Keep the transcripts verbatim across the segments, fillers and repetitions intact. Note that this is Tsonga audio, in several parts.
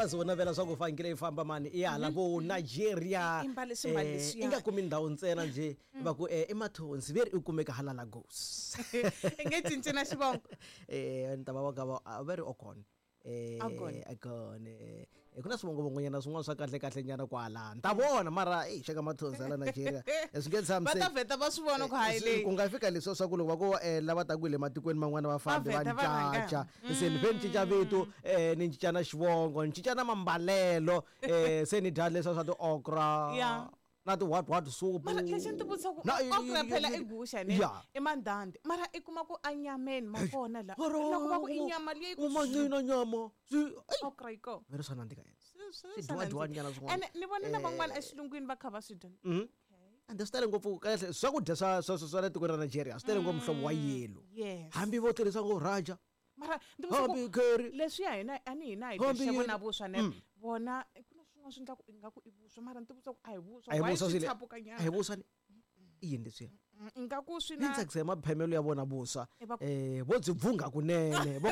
nga zi vona vela swa ku fanekele yi famba mani i ya hala vo Nigeria I mbale swimbalo eh, leswiya. i nga kumi ndhawu ntsena njhe va ku eh, i Mathonsi ve ri i kumeka hala Lagos i nge cinci na xivongo eh ni ta va va ka va a va ri Okon eh Okon. Okon eh ku na swivongovongonyana swin'wana swa kahle kahle nyana kwala ni ta vona mara ei xaka Mathonsi hala Nigeria Eh, swi nge va ta tshamiseki vheta va swi vona ku hayi Eh, leyi ku nga fika leswiya swa ku loko va ku eh, lava taku hi le matikweni man'wana va fambi Va va vheta va rhanga. ncaca se ni ve ni cinca vito eh, ni cinca na xivongo ni cinca na mambalelo eh, se ni dya leswiya swa ti-okra Yeah. na ti-what what soup mara lexi ni ti vutisa ku Na- okra phela i guxa ne Yeah. i mandandi mara i kuma ku anyameni ma kona la loko va ku i nyama leyi ku umancina nyama swi ai, okra yi kona ve ri swa nandzika yena Swi- swi- Swi swa dyiwa-dyiwa nandzika. nyana swin'wana. Ene ni vone na van'wana exilungwini va kha va swi dya Mhm. ende swi tele ngopfu kahle swakudya swa swa swa swa le tikweni ra Nigeria swi tele ngopfu muhlovo wa yellow yes hambi vo tirhisa ngo raja mara ndzi vutisa ku hambi curry leswiya hina a ni hina hi dya Hambi xavo yini. na vuswa ne vona ku na swin'wana swi endlaku ingaku i vuswa mara ni ti vutisa ku a hi vuswa a hi why vuswa swi swile tshapukanyana a hi vuswa ni i yini leswiya Mm, ingaku swi ni na tsakisa hi maphemelo ya vona vuswa Eh, va ku- um vo byi bvunga kunene vo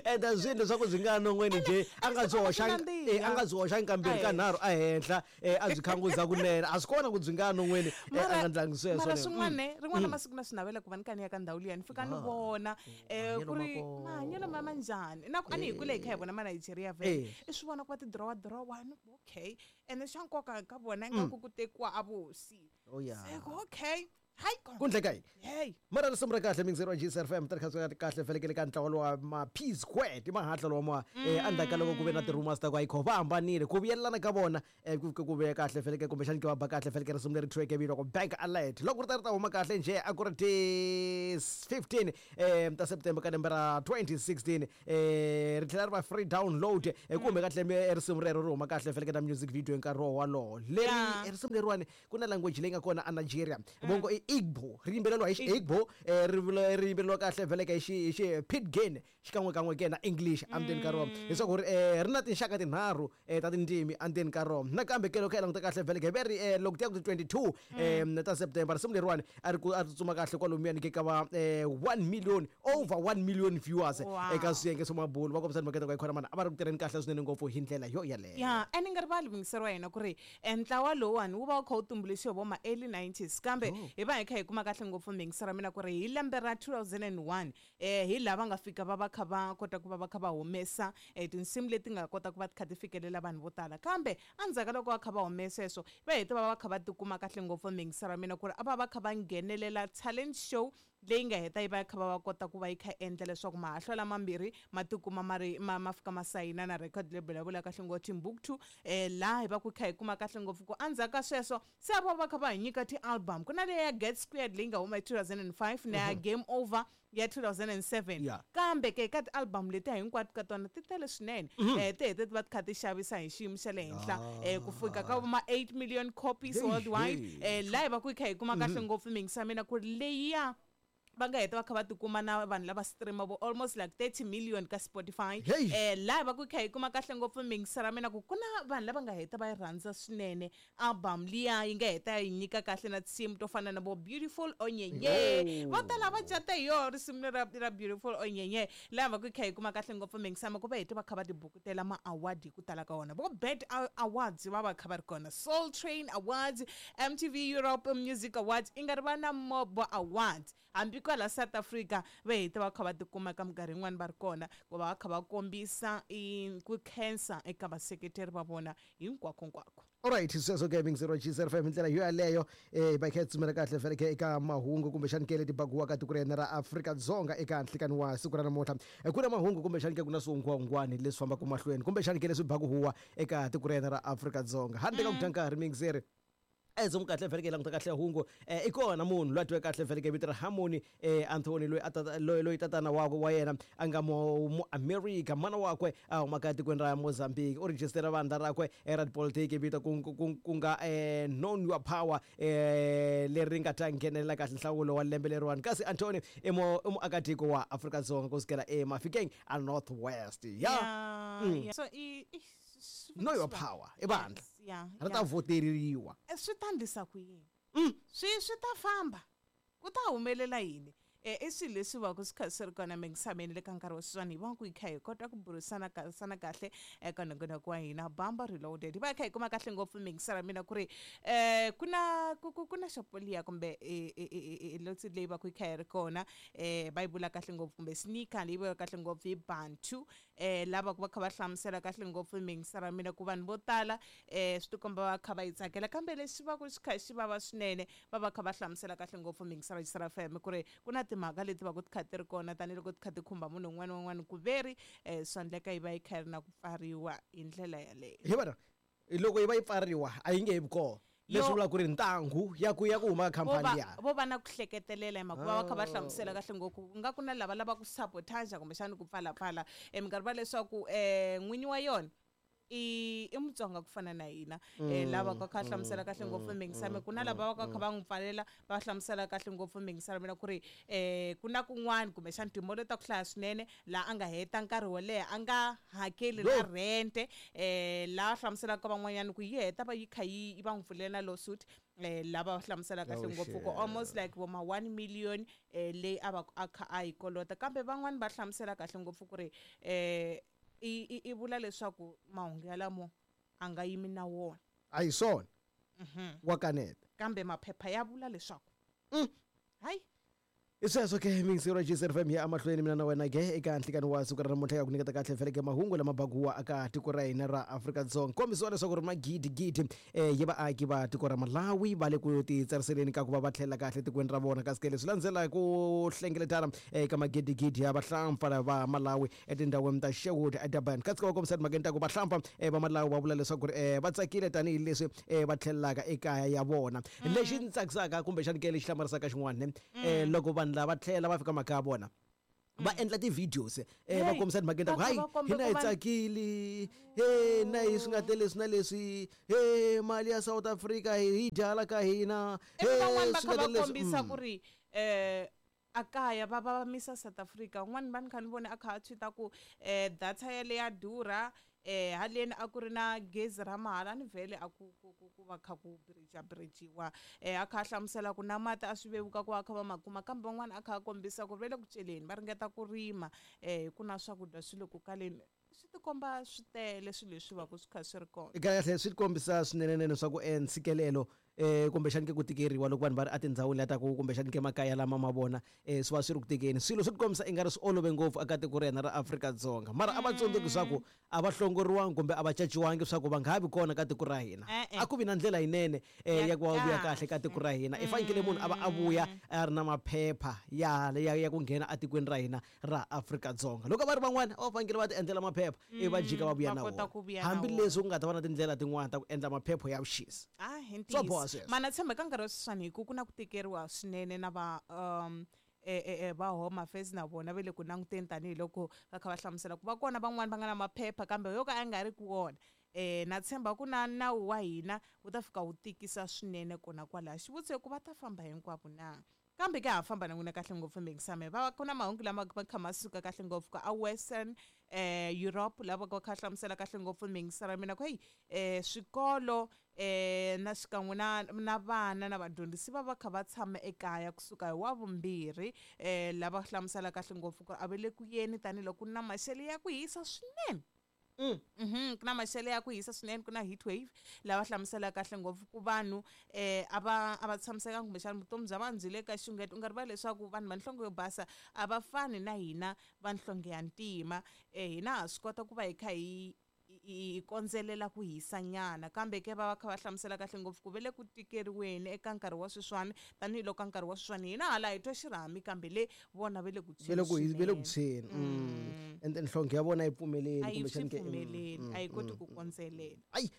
enda swi leswaku byi nga non'weni njhe a nga byi swi hoxangi nandziha. eh, a nga byi hoxangi kambirhi Eh. kanharhu ehenhla eh, a byi khanguza kunene a swi kona ku byi nga non'weni eh, a nga ndlangi sweswo mara ne. swin'wana ne rin'wana masiku na swi navela ku va ni ka ni ya ka ndhawu liya ni fika ni vona um ku mahanyelo ri ma kona. mahanyelo ma ma njhani na ku a ni hi kule hi kha hi vona manigeria vele Eh. i swi vona ku va ti dirowa dirowa ni ku okay ene xa nkoka ka vona ingaku ku tekiwa a vuhosi Oh, yeah. Se ku okay hayi ku ndleka yini hey mara risimu ra kahle mingiseri wa G S F M tirhisiwa kahle felekele ka ntlawa lowa ma P Squared i mahatla lowa ma eh endzhaku ka loko ku ve na ti-rumors ta ku ayikho va hambanile ku vuyelelana ka vona eh, ku ku ve kahle feleke kumbexani ke va ba kahle feleke risimu leri thyiweke vito ku Bank Alert loko ri ta ri ta huma kahle njhe a ku ri ti fifteen eh ta September ka lembe ra twenty sixteen eh ri tlhela ri va free download eh, kumbe kahle eh, risimu rero ri huma kahle feleke na music video hi nkarhi wolowo leri Yeah. eh, risimu leriwani ku na language leyi nga kona a Nigeria vongo i Igbo ri yimbeleriwa hi xi-Igbo eh, ri vula- ri yimbeleriwa kahle vheleka hi xi hi xi pidgin xikan'wekan'we ke na English endzeni ka rona leswaku ri eh, ri na tinxaka tinharhu eh, ta tindzimi endzeni ka rona nakambe ke loko hi languta kahle vheleka hi ve ri eh, loko ti ya ku ti twenty-two eh, ta September risimu leriwani a ri ku a ri tsutsuma kahle kwalomuyani ke ka va eh, one million, over one million viewers Wow. eka swiyenge swa mabulu va kombisa makete ka ikhona mana a va ri ku tirheni kahle swinene ngopfu hi ndlela yo yaleyo. Ya ene nga rivali muyingiseri wa hina ku ri eh, ntlawa lowuwani wu va wu kha wu tumbuluxiwe vo ma early nineties kambe hi va hi kha hi kuma kahle ngopfu muyingiseri wa mina ku ri hi lembe ra two thousand and one eh hi laha va nga fika va va kha va kota ku va va kha va humesa eh, tinsimu leti nga kota ku va ti kha ti fikelela vanhu vo tala kambe endzhaku ka loko va kha va humesa sweswo va hete va va kha va tikuma kahle ngopfu muyingiseri wa mina ku ri a va va kha va nghenelela talent show leyi nga heta yi va kha va va kota ku va yi kha endla leswaku mahahlwa lamambirhi ma tikuma ma ri ma ma fika ma sayina na record label ya vula kahle ngopfu Timbuktu eh laha hi va ku kha hi kuma kahle ngopfu ku endzhaku ka sweswo se a va va kha va hi nyika ti-album ku na leya ya Get Squared leyi nga huma hi two thousand and five na ya Game Over ya two thousand and seven. Yeah. Kambe ke ka ti-album letiya hinkwato ka tona ti tele swinene um ti hete ti va ti kha ti xavisa hi xiyimo xa le henhla um ku fika ka ma eight million copies Hey, worldwide hey. um laha hi va ku hi kha hi kuma kahle ngopfu mingisa mina ku ri leyiya va nga heta va kha va tikuma na vanhu lava streama vo almost like thirty million ka Spotify. Hey. Eh laha va ku kha hi kuma kahle ngopfu mingisa ra mina ku ku na vanhu lava nga heta va yi rhandza swinene album liya yi nga heta yi nyika kahle na tinsimu to fana na vo Beautiful Onyenye. Oh. Vo tala va cata hi yoho risimu lera ra Beautiful Onyenye laha va ku kha hi kuma kahle ngopfu mingisa ku va hete va kha va tibukutela ma-award hi ku tala ka wona vo B E T Awards va va kha va ri kona, Soul Train Awards, M T V Europe Music Awards i nga ri va na Mobo Awards hambi kwala South Africa va hete va kha va tikuma ka minkarhi yin'wani va ri kona ku va va kha va kombisa i ku khensa eka vaseketeri va vona hinkwako-nkwako. Alright, sweswo ke mingiseri wa G S F M hi ndlela yo yaleyo eh va kha hi tsumela kahle feleke eka mahungu kumbexani ke leti bakiwaka tiko ra hina ra Afrika-Dzonga eka nhlikani wa siku ra namuntlha. Eh, ku na mahungu kumbexani ke ku na swihungwahungwani leswi fambaka mahlweni kumbexani ke leswi baku huwa eka tiko ra hina ra Afrika-Dzonga handle ka ku dya nkarhi mingiseri ezomu kahle feleke hi languta kahle hungu eh, i kona munhu loyi a tiweke kahle feleke vito ra Harmony eh, Anthony loyi a tata- loyi loyi tatana wakwe wa yena a nga mu Muamerika mana wakwe a humaka etikweni ra Mozambique u rejistera vandla rakwe eh, ra tipolitiki vito ku ku- ku nga eh, Known Your Power eh, leri nga ta nghenelela kahle nhlawulo wa lembe leriwani kasi Anthony i mu- i muakatiko wa Afrika-Dzonga ku sukela eMafikeng a North West ya. Yeah, yeah. So i i- swi- Know Your Power i vandla Yes, yeah, ri ta yeah. voteriwa. Eh, swi ta ndlisa ku yini swi swi ta famba ku ta humelela yini um i swilo leswi va ku swi kha swi ri kona mingisameni le ka nkarhi wa sweswiwani hi va ku hi kha hi kota ku burisana sana kahle eka nongonoko wa hina Bamba Reloaded. Hi va hi kha hi kuma kahle ngopfu mingisara mina ku ri um ku na ku ku ku na xopoliya kumbe lotsi leyi va ku yi kha yi ri kona um va yi vula kahle ngopfu kumbe sneaker leyi vula kahle ngopfu hi Bantu um lava ku va kha va hlamusela kahle ngopfu mingisara mina ku vanhu vo tala um swi tikomba va kha va yi tsakela kambe lexi va ku xi kha xi vava swinene va va kha va hlamusela kahle ngopfu mingisara F M ku ri ku na timhaka leti va ku ti kha ti ri kona tanihiloko ti kha ti khumba munhu un'wana na un'wana ku veri um swa endleka yi va yi kha yi ri na ku pfariwa hi ndlela yaleyo. Hi vona loko yi va yi pfariwa a yi nge he vi kona. Leswi vulaka ku ri ntangu ya ku ya ku huma ka khampani ya vo va na ku hleketelela hi mhaka va va kha va hlamusela kahle ngopfu ku nga ku na lava lava ku sabotage kumbexana ku pfalapfala um minkarhi va leswaku um n'winyi wa yona i i Mutsonga ku fana na hina um lava ka kha hlamusela kahle ngopfu mingisame ku na lava va ka kha va n'wi pfalela va hlamusela kahle ngopfu mingisame mina ku ri um ku na kun'wana kumbexana timolo ta ku hlaya swinene laha a nga heta nkarhi wo leha a nga hakeli na rente um laha hlamuselaka van'wanyana ku yi heta va yi kha yi va n'wi pfulela na lawsuit um lava va hlamusela kahle ngopfu ku almost like vo ma one million um leyi a va a kha a yi kolota kambe van'wani va hlamusela kahle ngopfu ku ri um i i vula leswaku mahungu yalamo a nga yimi na wona a hi swona wa kaneta kambe maphepha ya vula leswaku hayi i sweswo ke mingisero G Z F M ya amahlweni mina na wena ke eka nhlikani wa siku ra namuntlha ya ku nyiketa kahle feleke mahungu lama baguwa aka tiko ra hina ra Afrika-Dzonga kombisiwa leswaku ri magidigidi um ya vaaki va tiko ra Malawi va le ku titsariseleni ka ku va va tlhela kahle tikweni ra vona kasi ke leswi landzela ku hlengeletana eka magidigidi ya vahlampfa va Malawi etindhawini ta Sherwood eDurban kasi ka va kombisa timhakeni ta ku vahlampfa va Malawi va vula leswaku ri va tsakile tanihileswi va tlhelelaka ekaya ya vona. Lexi ndzi tsakisaka kumbexani ke lexi hlamarisaka xin'wana um loko vanhu lava tlhela va fika makaya vona va endla ti-videos eh va kombisa timhakeni ta ku hayi hina hi tsakile he na hi swi nga te leswi na leswi he mali ya South Africa hi dya hala ka hina he van'wani va kha va kombisa ku ri um a kaya va va misa South Africa un'wana va ni kha ni vone a kha a tweeta ku um data yale ya durha eh haleni a ku ri na gezi ra mahala ni vhele a ku ku ku va kha ku bridge bridgiwa eh a kha hlamusela ku na mati a swi vevuka ku va kha va ma kuma kambe van'wana a kha a kombisa ku ve le ku celeni va ringeta ku rima eh ku na swakudya swi le ku kaleni swi tikomba swi tele swilo leswi va ku swi kha swi ri kona. Kahle swi kombisa swinene leswaku ntshikelelo eh kumbexani ke ku tikeriwa loko vanhu va ri etindhawini leta ku kumbexani ke makaya lama ma vona eh swi va swi ri ku tikeni swilo swi tikombisa i nga ri swi olove ngopfu eka tiko ra hina ra Afrika-Dzonga mara a va tsundzuki swa ku a va hlongoriwangi kumbe a va caciwangi swa ku va nga ha vi kona ka tiko ra hina a ku vi na ndlela yinene ya ku va vuya kahle ka tiko ra hina i fanekele munhu a va a vuya a ri na maphepha ya ya ya ku nghena etikweni ra hina ra Afrika-Dzonga loko va ri van'wana a va fanekele va ti endlela maphepha ivi va jika va vuya na wona hambileswi ku nga ta va na tindlela tin'wana ta ku endla maphepha ya vuxisi. Ah hi ntiyiso mana tshemba ka nkarhi wa sweswiwani hi ku ku na ku tikeriwa swinene na va um e va Home Affairs na vona va le ku languteni tanihiloko va kha va hlamusela ku va kona van'wani va nga na maphepha kambe yo ka a nga ri ku wona eh na tshemba ku na nawu wa hina wu ta fika wu tikisa swinene kona kwalaho xivutiso ku va ta famba hinkwavo na kambe ke ha famba na n'wina kahle ngopfu mingisame va ku na mahungu lama va kha ma suka kahle ngopfu ka a Western eh Europe lava va kha hlamusela kahle ngopfu mingisara mina ku hey eh swikolo eh na xikan'we na na vana na vadyondzisi va va kha va tshama ekaya kusuka hi wa vumbirhi eh lava hlamusela kahle ngopfu ku a va le ku yeni tanihiloko ku na maxelo ya ku hisa swinene. Mhm ku na maxelo ya ku hisa swinene ku na heat wave lava hlamusela kahle ngopfu ku vanhu eh a va a va tshamisekanga kumbexana vutomi bya vanhu byi le ka xungeto u nga rivali leswaku vanhu va nhlonge yo basa a va fani na hina va nhlonge ya ntima eh hina ha swi kota ku va hi kha hi hi kondzelela ku hisa nyana kambe ke va va kha va hlamusela kahle ngopfu ku ve le ku tikeriweni eka nkarhi wa sweswiwani tanihiloko ka nkarhi wa sweswiwani hina hala hi twa xirhami kambe le vona ve le ku ve le ku ve le ku tshweni and nhlonge ya vona yi pfumeleli kumbexani ke pfumeleli a yi koti ku kondzelela. Ayi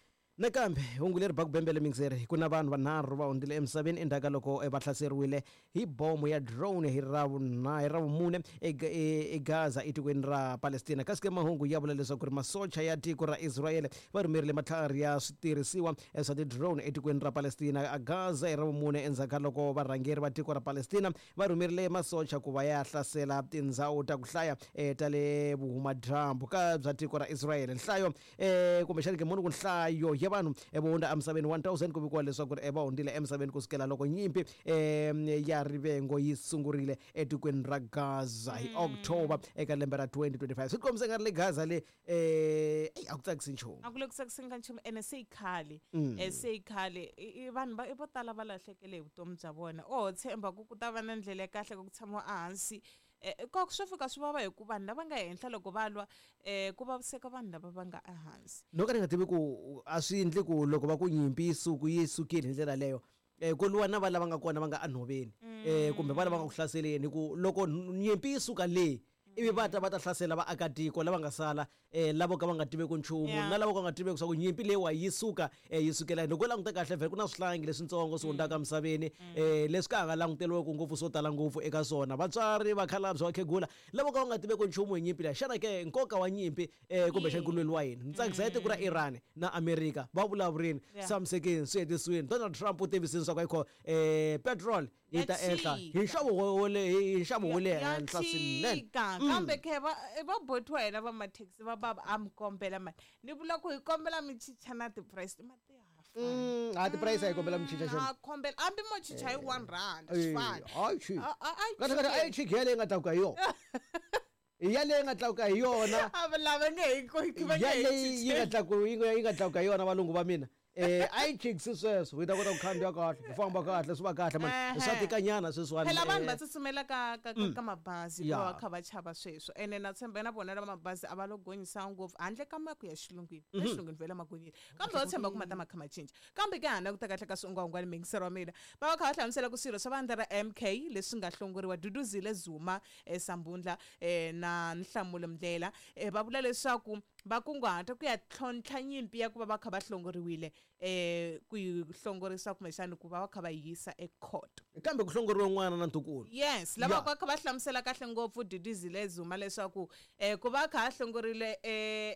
nakambe hungu leri ba ku bembele mingiseri ku na vanhu vanharhu va hundzile emisaveni endzhaku ka loko va hlaseriwile hi bomo ya drone hi ravuna hi ravumune eGaza etikweni ra Palestina kasi ke mahungu ya vula leswaku ri masocha ya tiko ra Israel va rhumerile matlhari ya switirhisiwa swa ti-drone etikweni ra Palestina eGaza hi ravumune endzhaku ka loko varhangeri va tiko ra Palestina va rhumerile masocha ku va ya hlasela tindhawu ta ku hlaya ta le vuhumadyambu ka bya tiko ra Israel nhlayo kumbexani ke muni ku nhlayo ya vanhu vo hundza emisaveni one thousand ku vikiwa leswaku ri va hundzile emisaveni kusukela loko nyimpi um ya rivengo yi sungurile etikweni ra Gaza hi October eka lembe ra twenty twenty five. Swi kombisa nga ri le Gaza le um eyi a ku tsakisi nchumu. A ku le ku tsakiseni ka nchumu ene se yi khale um se yi khale i vanhu va vo tala va lahlekele hi vutomi bya vona. O tshemba ku ku ta va na ndlela ya kahle ku tshamiwa ehansi um ko swo fika swi vava hi ku vanhu lava nga henhla loko va lwa um ku vaviseka vanhu lava va nga ehansi. No ka ni nga tivi ku a swi endli ku loko va ku nyimpi yi suku yi sukile hi ndlela leyo um ku lwiwa na va lava nga kona va nga enhoveni um kumbe va lava nga ku hlaseleni hi ku loko nyimpi yi suka le ivi va ta va ta hlasela vaakatiko lava nga sala um lavo ka va nga tiveki nchumu na lavo ka va nga tiveki swa ku nyimpi leyiwa yi suka um yi sukela. Loko u languta kahle vhele ku na swihlangi leswitsongo swi hundzaka emisaveni um leswi ka ha nga languteriweki ngopfu swo tala ngopfu eka swona vatswari vakhalabye vakhegula lavo ka va nga tiveki nchumu hi nyimpi leyi. Xana ke nkoka wa nyimpi um kumbexana ku lweriwa yini? Ni tsakisa hi tiko ra Iran na America va vulavurini tshamisekeni swi hetisiwini. Donald Trump u tivisini swa ku ayikho um petrol yi ta ehla hi nxavo wa le hi nxavo wa le henhla swinene. Kambe khe va va boti wa hina va mathekisi va bava a mi kombela mani ni vula ku hi kombela mi chicha na ti-price ma ti ha a ti-price a hi kombela mi chicha xana? A kombela hambi mo chicha hi one rand swi fani. Hayi chi kahle kahle a yi chiki yaleyi nga tlakuka hi yona yaleyi nga tlakuka hi yona lava nge hi va nge yaleyi yi nga tlakuka yi nga tlakuka hi yona valungu va mina eh a yi chikisi sweswo hi ta kota ku khandziya kahle ku famba kahle swi va kahle mani swa tikanyana sweswiwani. Phela vanhu va tsutsumela ka ka ka mabazi hikuva va kha va chava sweswo ene na tshemba na vona lava mabazi a va lo gonyisa ngopfu handle ka ma ku ya xilungwini mm exilungwini vhele ma gonyile kambe va tshemba ku ma ta ma kha ma cinca. Kambe ke hana ku ta kahle ka swingwangwani mingisero wa mina va va kha va hlamusela ku swirho swa vandla ra M K leswi nga hlongoriwa Duduzile Zuma Sambundla na Nhlamulo Ndlela va vula leswaku va kunguhata ku ya tlhontlha nyimpi ya ku va va kha va hlongoriwile eh ku yi hlongorisa kumbexana ku va va kha va yisa ecourt. Kambe ku hlongoriwe n'wana na ntukulu. Yes, lava va kha va hlamusela kahle ngopfu Duduzile Zuma leswaku eh ku va kha a hlongorile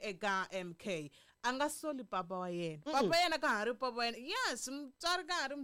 eka M K a nga soli papa wa yena. Papa yena ka ha ri papa wa yena. Yes, mutswari ka ha ri mutswari.